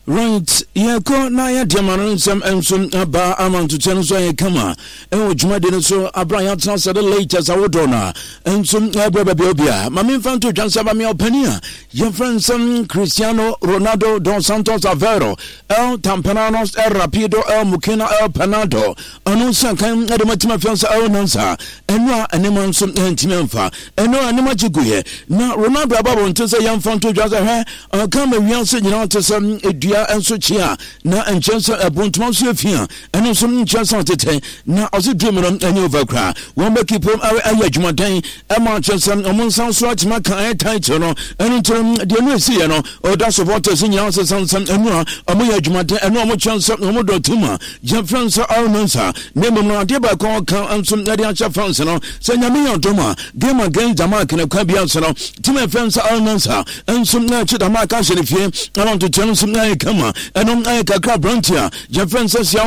Right, yɛkɔ na yɛde ama no nsɛm nso aba ama ntokyɛ no nso ayɛ kama ɛwɔ dwumadi no so abere a yɛatena sɛ de latest awodoɔ no a nso ɛbrɛ baabi a obia ma memfa nto dwa nsɛm amea ɔpani a yɛmfrɛ nsɛm Cristiano Ronaldo dos Santos Aveiro El Tampananos El Rapido El Mukina El Panado ɔno nso akan de matumi afia sɛ El Nansa ɛno a nneɛma nso ntumi amfa ɛno a nneɛma gye guiɛ na Ronaldo aba abɔnten sɛ yɛmfa nto dwa sɛ hwɛ ɔka ma wiase nyinaa te sɛ dua nso kye a na nkyɛn sɛ ɛbontoma nso yɛ fi a ɛno nso nkyɛn sɛ ɔtetɛ na ɔse dream no ɛnyɛ over koraa wɔn bɛki pom ayɛ adwumaden ɛma kyerɛ sɛ ɔmo nsa so atumi aka ɛyɛ title no. Ɛno nti no deɛ ɛno ɛsiiɛ no ɔda supporters nyinaa sɛ sansam ɛno a ɔmo yɛ adwumaden ɛno ɔmo kyerɛ sɛ ɔmo dɔ team a yɛmfrɛ no sɛ Al Nassr. Na mmom no adeɛ baako a ɔka nso ɛde ahyɛ fans no sɛ Nyame yɛ adom a game against Denmark no kwan biara so no team a yɛfrɛ no sɛ Al Nassr nso na ɛkye Denmark ahyɛ no fie ama ntotoɛ no nso ayɛ kama. Ɛno ayɛ kakra aberante a yɛfrɛ no sɛ Sia